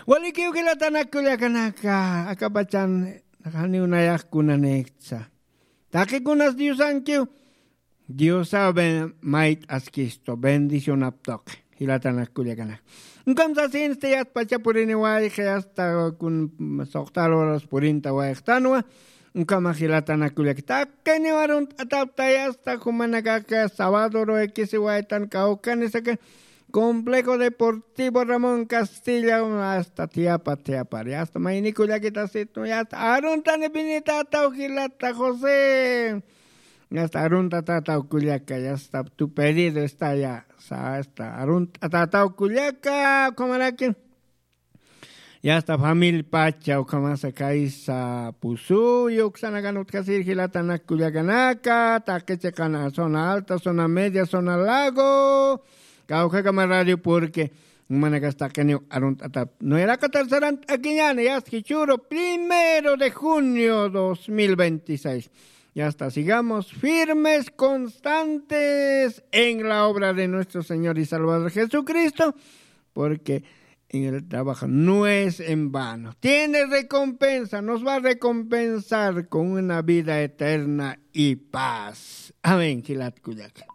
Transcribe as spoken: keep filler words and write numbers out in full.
Walikiw jilatanak kullakanaka, akapachan janiw nayax kunanïksa. Taqikunas diosankiw, diosaw mayt'askistu bendicionaptuq. Jilatanak kullakanaka, ukamsasinsti yatpacha puriniwayxi asta kun soqtal horas purinta wayxtanwa. Ukama jilatanak kullaka, taqiniw arunt'ataptay asta jumanakaka sabado ruwakisiwaytan kawkanisaka, complejo deportivo Ramón Castilla, asta tiapa tiapari asta maynikullakitasitu asta aruntani binitataw jilata José. Asta arunt'atataw kullaka asta tu pedido estaya. Asta arunt'atataw kullaka ukhamaraki. Yasta famil pacha ukhamasa kaysa pusuyu uksanakan utjasir jilatanak kullakanaka taqi chiqana zona alta zona media zona lago, kawkakama radio porque manakastaqiniw arunt'atap nueraqatar sarant'akiñani yasta jichuru primero de junio dos mil veintiséis. Yasta sigamos firmes constantes en la obra de nuestro señor y salvador jesucristo, porque en el trabajo no es en vano. Tiene recompensa, nos va a recompensar con una vida eterna y paz. Amén. Jilat kullaka.